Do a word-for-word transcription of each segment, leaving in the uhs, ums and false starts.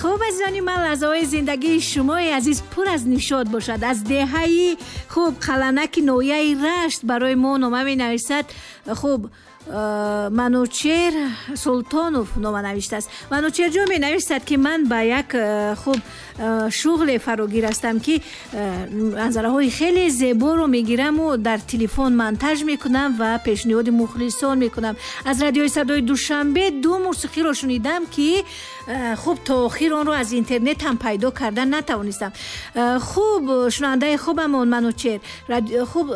Хуб, азизони ман, лаҳзаҳои зиндагии шумои азиз пур аз нишот бошад. Аз деҳаи хуб Қаланаки ноҳияи Рашт барои мо нома менависад. Хуб, Манучер Султонов нома навиштааст. Манучерҷон менависад, ки ман ба як хуб шуғле фарогир ҳастам, ки манзараҳои хеле зеборо мегираму дар телефон монтаж мекунам ва пешниҳоди мухлисон мекунам. Аз радиои садои Душанбе ду мусиқиро шунидам, ки хуб то охир онро аз интернет ҳам пайдо карда натавонистам. Хуб, шунавандаи хубамон Манучер, хуб,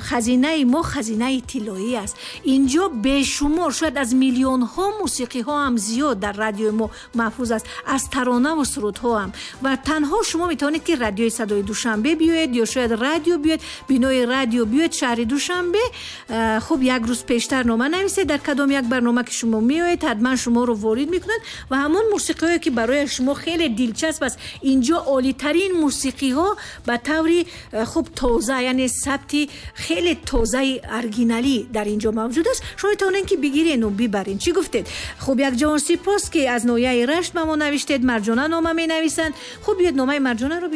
хазинаи мо хазинаи тиллоӣ аст. Инҷо бешумор, шояд аз миллионҳо мусиқиҳо ҳам зиёд дар радиои мо маҳфуз аст, аз таронаву сурудҳо ҳам. Ва танҳо шумо метавонед, ки радиои садои Душанбе биёед ё шояд радио биёед, бинои радио биёед шаҳри Душанбе. Хуб, як рӯз пештар нома нависед дар кадом як барнома ки шумо меоед, ҳатман шуморо ворид мекунанд ва ҳамон мусиқиҳое ки барои шумо хеле дилчасп аст, инҷо олитарин мусиқиҳо ба таври хуб тоза, яъне сабти хеле тозаи оригиналӣ дар инҷо мавҷуд аст. Шумо метавонед, ки бигирену бибарен. Чӣ гуфтед? Хуб, як ҷавон сипос, ки аз ноҳияи Рашт ба мо навиштед. Марҷона нома менависанд. Хуб, биёед номаи Марҷонаро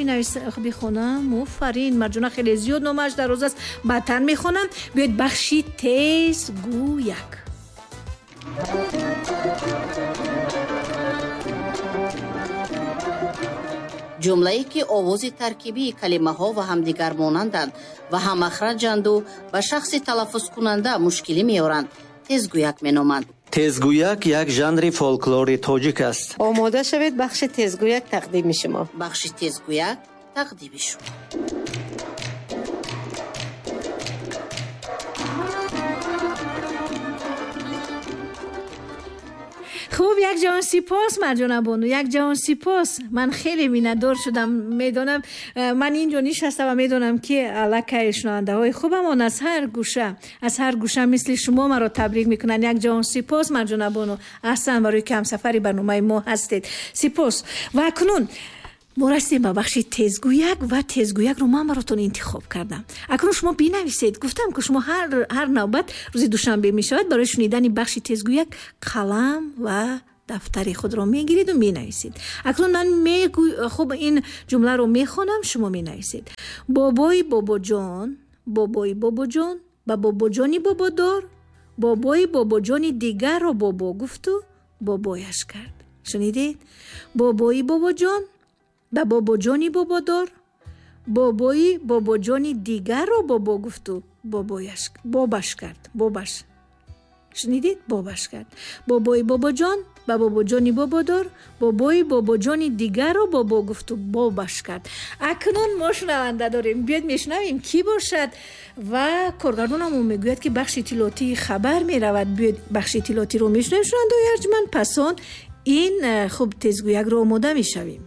бихонам. Офарин, Марҷона хеле зиёд номааш дароз аст, баъдтар мехонам. Биёед бахши тезгӯяк. Ҷумлае ки овози таркибии калимаҳо ва ҳамдигар монанданд ва ҳаммахраҷанду ба шахси талаффузкунанда мушкилӣ меоранд, тезгӯяк меноманд. Тезгӯяк як жанри фолклори тоҷик аст. Омода шавед, бахши тезгӯяк тақдими шумо. Бахши тезгӯяк тақдими шумо. Хуб, як ҷавон сипос, Марҷона бону, як ҷавон сипос. Ман хеле миннатдор шудам. Медонам, ман инҷо нишастам ва медонам, ки аллакай шунавандаҳои хубамон аз ҳар гӯша, аз ҳар гӯша мисли шумо маро табрик мекунанд. Як ҷавон сипос, Марҷона бону, аҳсан барои ки ҳамсафари барномаи мо ҳастед. Сипос. Ва акнун мо расидем ба бахши тезгӯяк ва тезгӯякро ман баротон интихоб кардам. Акнун шумо бинависед. Гуфтам, ки шумо ҳар ҳар навбат рӯзи душанбе мешавад, барои шунидани бахши тезгӯяк қалам ва дафтари худро мегириду менависед. Акнун ман мегӯ хуб ин ҷумларо мехонам, шумо менависед. Бобои бобоҷон, бобои бобоҷон ба бобоҷони бободор, бобои бобоҷони дигарро бобо гуфту бобояш кард. Шунидед? Бобои бобоҷон ба бобоҷони бободор, бобои бобоҷони дигарро бобо гуфту бобояш бобаш кард. Бобаш. Шунидед? Бобаш кард. Бобои бобоҷон ба бобоҷони бободор, бобои бобоҷони дигарро бобо гуфту бобаш кард. Акнун мо шунаванда дорем. Биёед мешунавем, кӣ бошад, ва коргардонамон мегӯяд, ки бахши иттилоотии хабар меравад. Биёед бахши иттилоотиро мешунавем, шунавандаои арҷманд, пас он ин хуб тезгӯякро омода мешавем.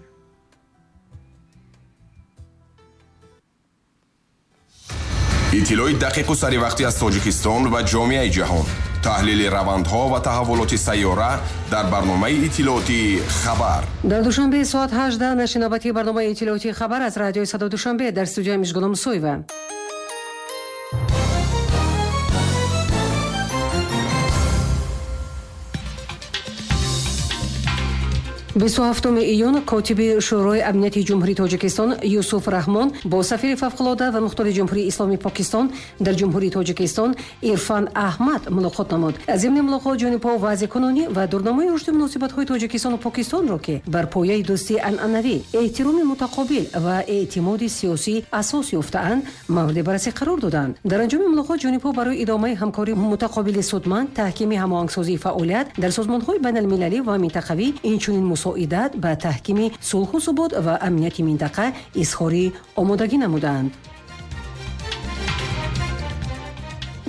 Иттилои дақиқу саривақтӣ аз Тоҷикистон ва ҷомеаи ҷаҳон, таҳлили равандҳо ва таҳаввулоти сайёра дар барномаи иттилоотии хабар. Дар Душанбе соат ҳаждаҳ нашри навбатии барномаи иттилоотии хабар аз радиои садои Душанбе, дар студияи Мижгона Мусоева. бисту ҳафтуми июн котиби Шӯрои амнияти Ҷумҳурии Тоҷикистон Юсуф Раҳмон бо сафири фавқулода ва мухтори Ҷумҳурии Исломии Покистон дар Ҷумҳурии Тоҷикистон Ирфан Аҳмад мулоқот намуд. Зимни мулоқот ҷонибҳо вазъи кунунӣ ва дурнамои рушди муносибатҳои Тоҷикистону Покистонро, ки бар пояи дӯстии анъанавӣ, эҳтироми мутақобил ва эътимоди сиёсӣ асос ёфтаанд, мавриди баррасӣ қарор доданд. Дар анҷоми мулоқот ҷонибҳо барои идомаи ҳамкории мутақобили судманд, таҳкими ҳамоҳангсозии фаъолият дар созмонҳои байналмилалӣ ва минтақавӣ, инчунин мусоидат ба таҳкими сулҳу субот ва амнияти минтақа изҳори омодагӣ намуданд.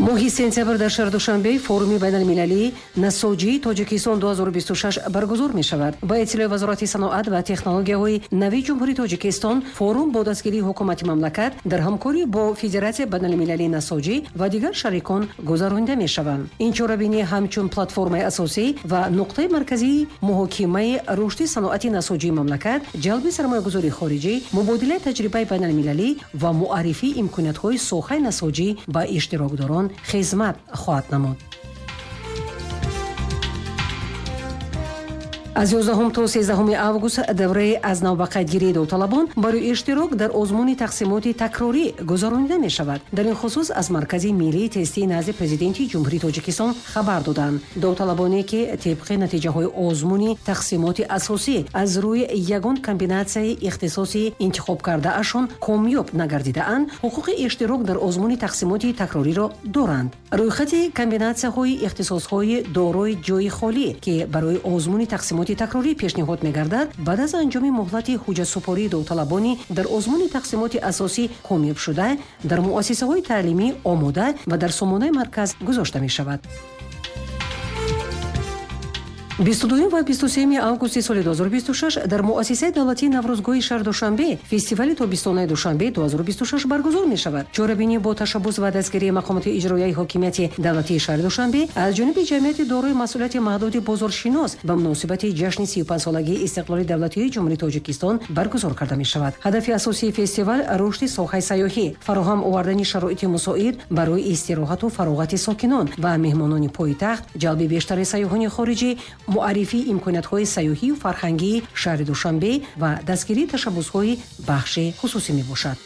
Моҳи сентябр дар шаҳри Душанбе форуми байналмилалии насоҷии Тоҷикистон ду ҳазору бисту шаш баргузор мешавад. Ба иттилои Вазорати саноат ва технологияҳои нави Ҷумҳурии Тоҷикистон, форум бо дастгирии ҳукумати мамлакат дар ҳамкорӣ бо Федератсияи байналмилалии насоҷӣ ва дигар шарикон гузаронида мешаванд. Ин чорабинӣ ҳамчун платформаи асосӣ ва нуқтаи марказии муҳокимаи рушди саноати насоҷии мамлакат, ҷалби сармоягузории хориҷӣ, мубодилаи таҷрибаи байналмилалӣ ва муаррифии имкониятҳои соҳаи насоҷӣ ба иштирокдорон хизмат хоҳад намуд. Аз ёздаҳум то сездаҳуми август давраи аз навбақайдгирии довталабон барои иштирок дар озмуни тақсимоти такрорӣ гузаронида мешавад. Дар ин хусус аз Маркази миллии тестии назди Президенти Ҷумҳурии Тоҷикистон хабар доданд. Довталабоне ки тибқи натиҷаҳои озмуни тақсимоти асосӣ аз рӯи ягон комбинатсияи ихтисоси интихобкардаашон комёб нагардидаанд, ҳуқуқи иштирок дар озмуни тақсимоти такрориро доранд. Рӯйхати комбинатсияҳои ихтисосҳои дорои ҷои холӣ, ки барои озмуни тақсимоти такрорӣ пешниҳод мегардад, баъд аз анҷоми муҳлати ҳуҷҷатсупории довталабони дар озмуни тақсимоти асосӣ комёб шуда, дар муассисаҳои таълимӣ омода ва дар сомонаи марказ гузошта мешавад. бисту дуюм ва бисту сеюми августи соли ду ҳазору бисту шаш дар муассисаи давлатии Наврӯзгоҳи шаҳри Душанбе фестивали тобистонаи Душанбе ду ҳазору бисту шаш баргузор мешавад. Чорабинӣ бо ташаббус ва дастгирии мақомоти иҷроияи ҳокимияти давлатии шаҳри Душанбе аз ҷониби ҷамъияти дорои масъулияти маҳдуди бозоршинос ба муносибати ҷашни сию панҷсолагии истиқлоли давлатии Ҷумҳурии Тоҷикистон баргузор карда мешавад. Ҳадафи асосии фестивал рушди соҳаи сайёҳӣ, фароҳам овардани шароити мусоид барои истироҳату фароғати сокинон ва меҳмонони пойтахт, ҷалби бештари сайёҳони хориҷӣ, муаррифии имкониятҳои сайёҳию фарҳангии шаҳри Душанбе ва дастгирии ташаббусҳои бахши хусусӣ мебошад.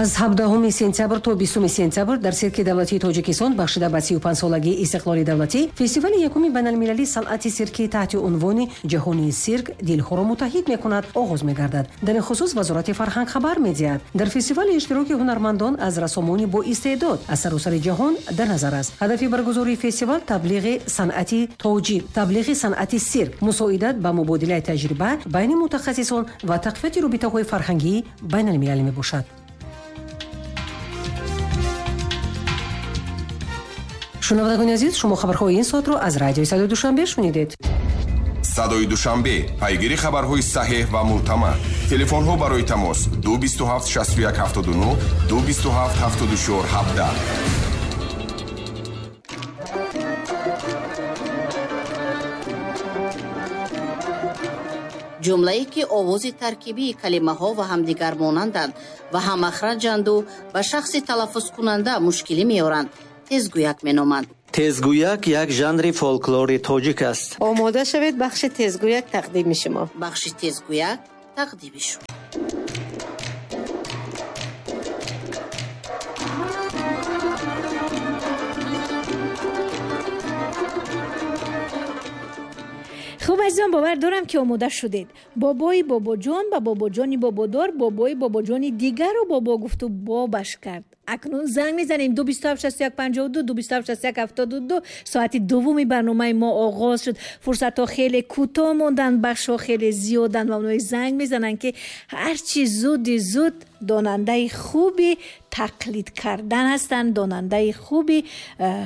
Аз ҳабдаҳуми сентябр то бистуми сентябр дар Сирки давлатии Тоҷикистон бахшида ба сию панҷсолагии истиқлоли давлатӣ фестивали якуми байналмилалии санъати сирки таҳти унвони «Ҷаҳони сирк дилҳоро муттаҳид мекунад» оғоз мегардад. Дар ин хусус Вазорати фарҳанг хабар медиҳад. Дар фестивали иштироки ҳунармандон аз рассомони боистеъдод аз саросари ҷаҳон дар назар аст. Ҳадафи баргузории фестивал таблиғи санъати тоҷик, таблиғи санъати сирк, мусоидат ба мубодилаи таҷриба байни мутахассисон ва тақвияти робитаҳои фарҳангии байналмилалӣ мебошад. Шунавандагони азиз, шумо хабарҳои ин соатро аз радиои Садои Душанбе шунидед. Садои Душанбе, пайгири хабарҳои саҳеҳ ва мӯътамад. Телефонҳо барои тамос ду бисту ҳафт шасту як ҳафтоду нӯҳ, ду бисту ҳафт ҳафтоду чор ҳабдаҳ. Ҷумлае ки овози таркибии калимаҳо ва ҳамдигар монанданд ва ҳамахраҷанду ба шахси талаффузкунанда мушкилӣ меоранд, тезгӯяк меноманд. Тезгӯяк як жанри фолклори тоҷик аст. Омода шавед, бахши тезгӯяк тақдими шумо. Бахши тезгӯяк тақдими шумо. Хуб, азизон, бовар дорам ки омода шудед. Бобои бобоҷон ба бобоҷони бободор бобои бобоҷони дигарро бобо гуфту бобаш кард. Акнун занг мезанем ду бисту ҳафт шасту як панҷоҳу ду, ду бисту ҳафт шасту як ҳафтоду ду. Соати дуввуми барномаи мо оғоз шуд. Фурсатҳо хеле кӯтоҳ монданд, бахшҳо хеле зиёданд ва онҳое занг мезананд ки ҳарчи зуди зуд донандаи хуби тақлид кардан ҳастанд, донандаи хуби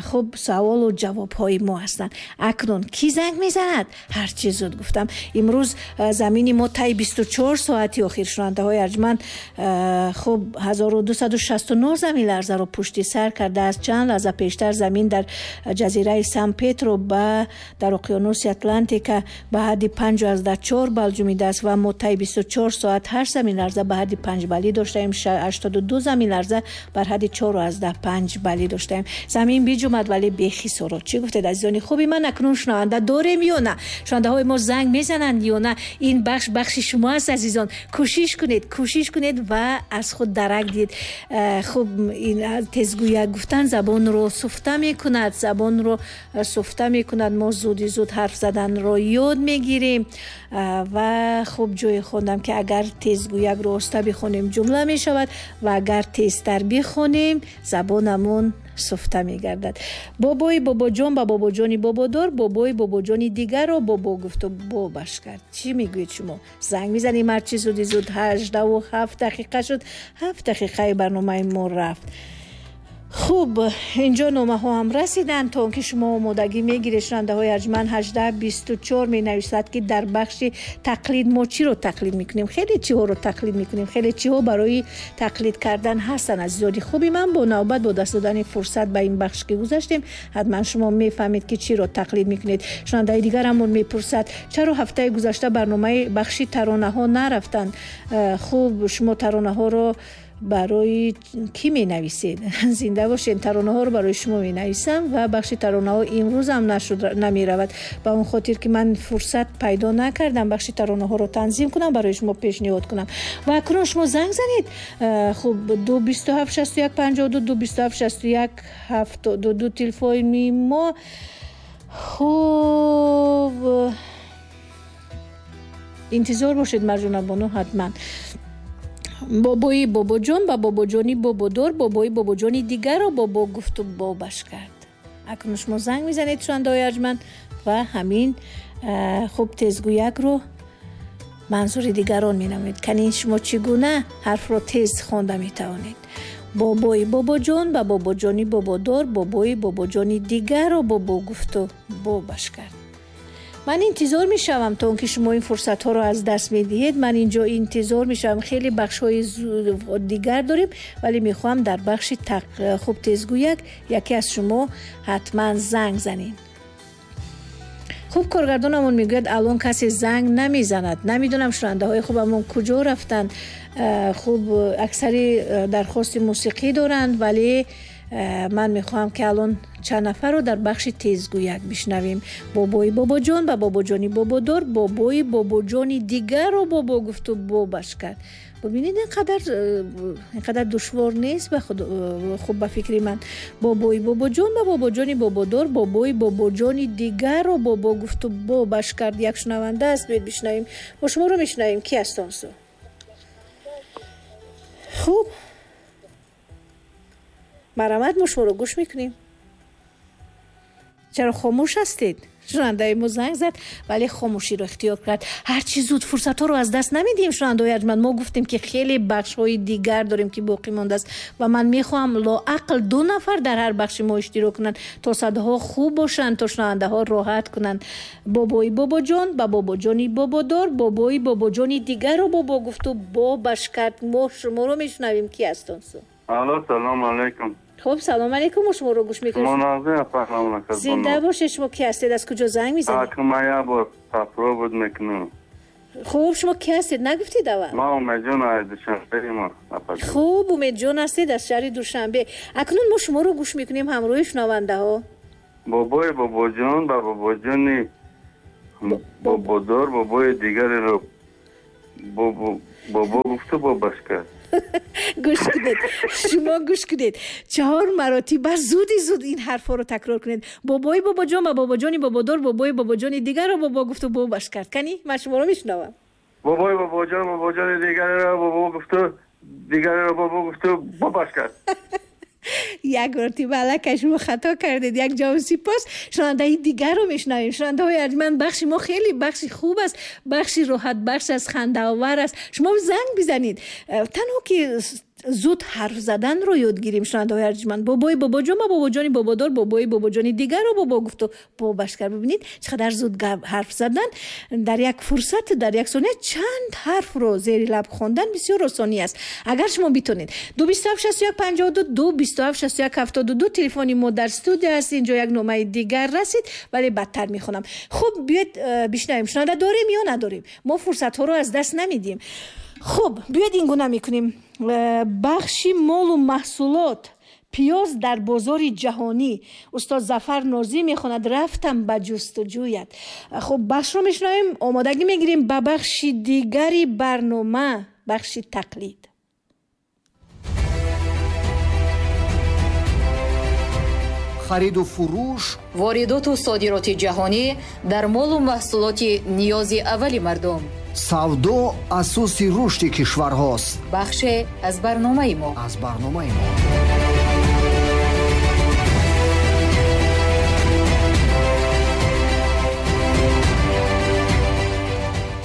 хуб саволу ҷавобҳои мо ҳастанд. Акнун кӣ занг мезанад? Ҳарчи зуд гуфтам. Имрӯз замини мо таи бисту чор соати охир, шунавандаҳои арҷманд, хуб ҳазору дусаду шасту нӯҳ замин ларзаро пушти сар кардааст. Чанд лаҳза пештар замин дар ҷазираи Сан Петро ба дар уқёнуси Атлантика ба ҳадди панҷу аздаҳ чор бал ҷумидааст ва мо таи бисту чор соат ҳашт замин ларза ба ҳадди панҷ балӣ доштаем, ҳаштоду ду замин ларза бар ҳадди чору аздаҳ панҷ балӣ доштаем. Замин биҷумад, вале бехисорот. Чӣ гуфтед, азизони хуби ман? Акнун шунаванда дорем ё на? Шунавандаҳои мо занг мезананд ё на? Ин бахш бахши шумо аст, азизон. Кӯшиш кунед, кӯшиш кунед ва аз худ дарак диҳед. Хуб, ин тезгӯяк гуфтан забонро суфта мекунад, забонро суфта мекунад. Мо зуди зуд ҳарф заданро ёд мегирем ва хуб ҷое хондам ки агар тезгӯякро оста бихонем ҷумла мешавад ва агар тезтар бихонем забонамон суфта мегардад. Бобои бобоҷон ба бобоҷони бободор бобои бобоҷони дигарро бобо гуфту бобаш кард. Чӣ мегӯед шумо? Занг мезанем ҳарчи зуди зуд. Ҳаждаҳу ҳафт дақиқа шуд, ҳафт дақиқаи барномаи мо рафт. Хуб, инҷо номаҳо ҳам расиданд. То он ки шумо омодагӣ мегиред, шунавандаҳои арҷманд, ҳаждаҳ бисту чор менависад ки дар бахши тақлид мо чиро тақлид мекунем? Хеле чиҳоро тақлид мекунем, хеле чиҳо барои тақлид кардан ҳастанд. Азизони хуби ман, бо навбат бо даст додани фурсат ба ин бахш ки гузаштем, ҳатман шумо мефаҳмед ки чиро тақлид мекунед. Шунавандаи дигарамон мепурсад чаро ҳафтаи гузашта барномаи бахши таронаҳо нарафтанд? Хуб, шумо таронаҳоро Барои кӣ менависед? Зинда бошед. Таронаҳоро барои шумо менависам ва бахши таронаҳо имрӯз ҳам нашуд, намеравад, ба он хотир ки ман фурсат пайдо накардам бахши таронаҳоро танзим кунам, барои шумо пешниҳод кунам. Ва акнун шумо занг занед. Хуб, ду бисту ҳафт шасту як панҷоҳу ду, ду бисту ҳафт шасту як ҳафтоду ду телефони мо. Хуб, интизор бошед, Марҷонабону, ҳатман. Бобои бобоҷон ба бобоҷони бободор бобои бобоҷони дигарро бобо гуфту бобаш кард. Акнун шумо занг мезанед, шунавандаҳои арҷманд, ва ҳамин хуб тезгӯякро манзури дигарон менамоед. Кани шумо чӣ гуна ҳарфро тез хонда метавонед? Бобои бобоҷон ба бобоҷони бободор бобои бобоҷони дигарро бобо гуфту бобаш кард. Ман интизор мешавам то он ки шумо ин фурсатҳоро аз даст медиҳед. Ман инҷо интизор мешавам. Хеле бахшҳои дигар дорем, вале мехоҳам дар бахши хуб тезгӯяк яке аз шумо ҳатман занг занед. Хуб, коргардонамон мегӯяд алон касе занг намезанад. Намедонам шунавандаҳои хубамон куҷо рафтанд. Хуб, аксари дархости мусиқӣ доранд, вале ман мехоҳам ки алон чанд нафарро дар бахши тезгӯяк бишнавем. Бобои бобоҷон ба бобоҷони бободор бобои бобоҷони дигарро бобо гуфту бобаш кард. Бибинед, инқадар инқадар душвор нест ба худ, хуб ба фикри ман. Бобои бобоҷон ба бобоҷони бободор бобои бобоҷони дигарро бобо гуфту бобаш кард. Як шунаванда аст, биёед бишнавем. Мо шуморо мешунавем. Ки аст он су? Хуб, марҳамат, мо шуморо гӯш мекунем. Чаро хомӯш ҳастед? Шунавандаи мо занг зад, вале хомӯширо ихтиёр кард. Ҳарчи зуд фурсатҳоро аз даст намедиҳем, шунавандаҳои арҷманд. Мо гуфтем ки хеле бахшҳои дигар дорем ки боқӣ мондааст ва ман мехоҳам лоақал ду нафар дар ҳар бахши мо иштирок кунанд, то садоҳо хуб бошанд, то шунавандаҳо роҳат кунанд. Бобои бобоҷон ба бобоҷони бободор бобои бобоҷони дигарро бобо гуфту бобаш кард. Мо шуморо мешунавем. Ки аст он су? Алло, салом алейкум. Хуб, салом алейкум, мо шуморо гӯш мекунем. Зинда бошед. Шумо ки ҳастед? Аз куҷо занг мезанед? Ман як бор попробуд мекунам. Хуб, шумо ки ҳастед? Нагуфтед аввал? Ман Умедҷон аз Душанбе. Хуб, Умедҷон ҳастед аз шаҳри Душанбе. Акнун мо шуморо гӯш мекунем ҳамроҳи шунавандаҳо. Бобои бобоҷон ба бобоҷони бободор бобои дигареро бобо гуфту бобаш кард. Гӯш кунед, шумо гӯш кунед. Чаҳор маротиба зуди зуд ин ҳарфҳоро такрор кунед. Бобои бобоҷон ба бобоҷони бободор бобои бобоҷони дигарро бобо гуфту бобаш кард. Кани, ман шуморо мешунавам. Бобои бобоҷон бобоҷони дигареро бобо гуфту дигареро бобо гуфту бобаш кард. Як мартиба аллакай шумо хато кардед. Як ҷавоб сипос. Шунавандаи дигарро мешунавем. Шунавандаҳои арҷманд, бахши мо хеле бахши хуб аст, бахши роҳатбахш аст, хандаовар аст. Шумо занг бизанед. Танҳо ки зуд ҳарф заданро ёд гирем, шунавандаҳои арҷманд. Бобои бобоҷон ба бобоҷони бободор бобои бобоҷони дигарро бобо гуфту бобаш кард. Бибинед чӣ қадар зуд ҳарф задан дар як фурсат, дар як сония чанд ҳарфро зери лаб хондан бисёр осонӣ аст. Агар шумо битонед. Ду бисту ҳафт шасту як панҷоҳу ду, ду бисту ҳафт шасту як ҳафтоду ду телефони мо дар студия аст. Инҷо як номаи дигар расид, вале бадтар мехонам. Хуб, биёед бишнавем, шунаванда дорем ё надорем? Мо фурсатҳоро аз даст намедиҳем. Хуб, биёед ин гуна мекунем. Бахши молу маҳсулот, пиёз дар бозори ҷаҳонӣ. Устод Зафар Нозӣ мехонад рафтам ба ҷустуҷӯят. Хуб, бахшро мешунавем, омодагӣ мегирем ба бахши дигари барнома, бахши тақлид. Хариду фурӯш, воридоту содироти ҷаҳонӣ дар молу маҳсулоти ниёзи аввали мардум. Савдо асоси рушди кишварҳост. Бахше аз барномаи мо. Аз барномаи мо.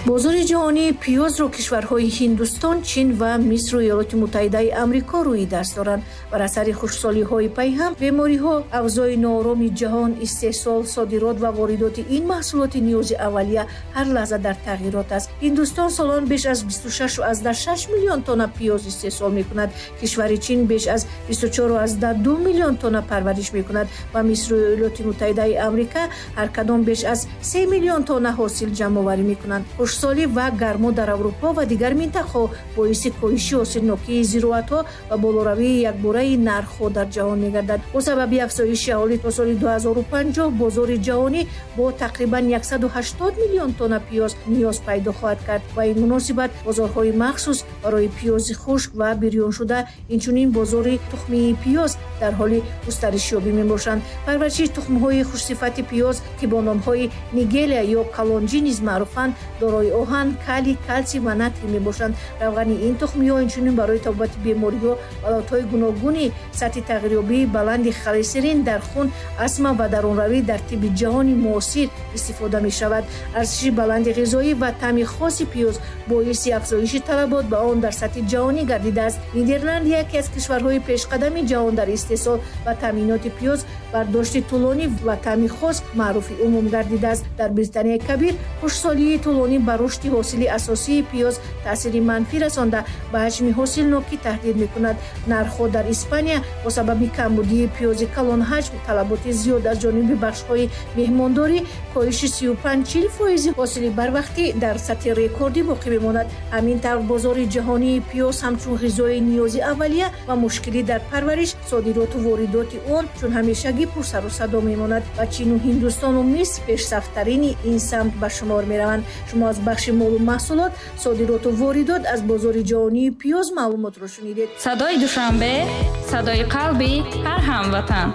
Бозори ҷаҳонии пиёзро кишварҳои Ҳиндустон, Чин ва Мисру Иёлоти Муттаҳидаи Амрико рӯи даст доранд. Бар асари хушксолиҳои пайҳам, бемориҳо, авзои ноороми ҷаҳон, истеҳсол, содирот ва воридоти ин маҳсулоти ниёзи аввалия ҳар лаҳза дар тағйирот аст. Ҳиндустон солон беш аз бисту шаш ва аздаҳ шаш миллион тонна пиёз истеҳсол мекунад. Кишвари Чин беш аз бисту чор ва аздаҳ ду миллион тонна парвариш мекунад ва Мисру Иёлоти Муттаҳидаи Амрика ҳар кадом беш аз се миллион тонна ҳосил ҷамъоварӣ мекунанд. Хушксолӣ ва гармо дар Аврупо ва дигар минтақаҳо боиси коҳиши ҳосилнокии зироатҳо ва болоравии якбораи нархҳо дар ҷаҳон мегардад. Бо сабаби афзоиши аҳолӣ то соли ду ҳазору панҷоҳ бозори ҷаҳонӣ бо тақрибан яксаду ҳаштод миллион тонна пиёз ниёз пайдо хоҳад кард. Ба ин муносибат бозорҳои махсус барои пиёзи хушк ва бирёншуда, инчунин бозори тухмии пиёз дар ҳоли густаришёбӣ мебошанд. Парвариши тухмҳои хушсифати пиёз, ки бо номҳои нигелия ё калонҷӣ низ маъруфанд, дорои оҳан, калий, калсий ва натрий мебошанд. Равғани ин тухмиҳо инчунин барои табобати бемориҳо, ҳолатҳои гуногуни сатҳи тағйирёбии баланди холестерин дар хун, астма ва дарунравӣ дар тибби ҷаҳони муосир истифода мешавад. Арзиши баланди ғизоӣ ва таъми хоси пиёз боиси афзоиши талабот ба он дар сатҳи ҷаҳонӣ гардидааст. Нидерланд яке аз кишварҳои пешқадами ҷаҳон дар истеҳсол ва таъминоти пиёз, бардошти тӯлонӣ ва таъми хос маъруфи умум гардидааст. Дар Британияи Кабир хушксолии тӯлонӣ ба рушди ҳосили асосии пиёз таъсири манфӣ расонда, ба ҳаҷми ҳосилнокӣ таҳдид мекунад. Нархҳо дар Испания бо сабаби камбудии пиёзи калонҳаҷм, талаботи зиёд аз ҷониби бахшҳои меҳмондорӣ, коҳиши сию панҷ чил фоизи ҳосили барвақтӣ дар сатҳи рекордӣ боқӣ мемонад. Ҳамин тавр бозори ҷаҳонии пиёз ҳамчун ғизои ниёзи аввалия ва мушкилӣ дар парвариш, содироту воридоти он чун ҳамешагӣ пурсару садо мемонад ва Чину Ҳиндустону Миср пешсафтарини ин самт ба шумор мераванд. Шумо аз бахши молу маҳсулот, содироту воридот аз бозори ҷаҳонии пиёз маълумотро шунидед. Садои Душанбе, садои қалби ҳар ҳамватан.